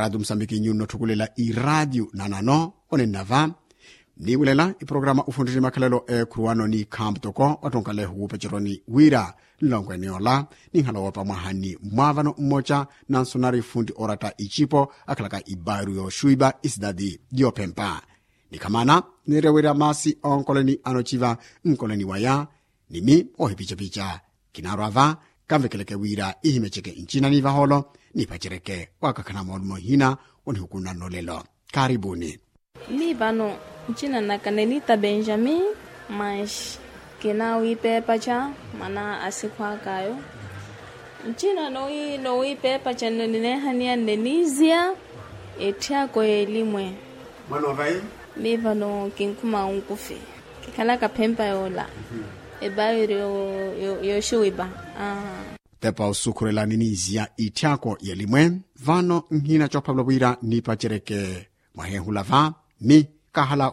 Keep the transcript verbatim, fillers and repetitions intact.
Raatiyo musambiki nyunno otthukulela iraatiyo nanano onenna va. Mniiwelela iprograma ufuntini makhalelo eekhuruwano ni khampu toko wattonkalehu wuupeceroni wira nlonkwene ola ninhala woopa mwaha ni mwaavano mmoca nansonari funti oratta icipo akhalaka ibairu yooxuwipa isitati yoophempa. Nikhamana niirewira maasi onkoleni anociva nkoleni waya nimi ohipicapica. Kinaarwa va kanvekeleke wira ihimeceke ncina ni vahoolo nipacereke wakakhana moolumo hina onihukunano lelo. Karibuni. Mii vano ncina naka nenita benjamin manxi kinaawiipeepaca mana asikhwakayo. Ncina nowiipeepaca nno nineehaniya nneniziya etthiyako yeelimwe. Mwana ovai? Mii vano kinkhuma onkufi kikhalaka phempa yoola ebairi yooxiwipa. Tepa osukhurela niniziya itthiyako yeelimwe. Vano nhina coophavela wira nipacereke mwaheehula va mi kahala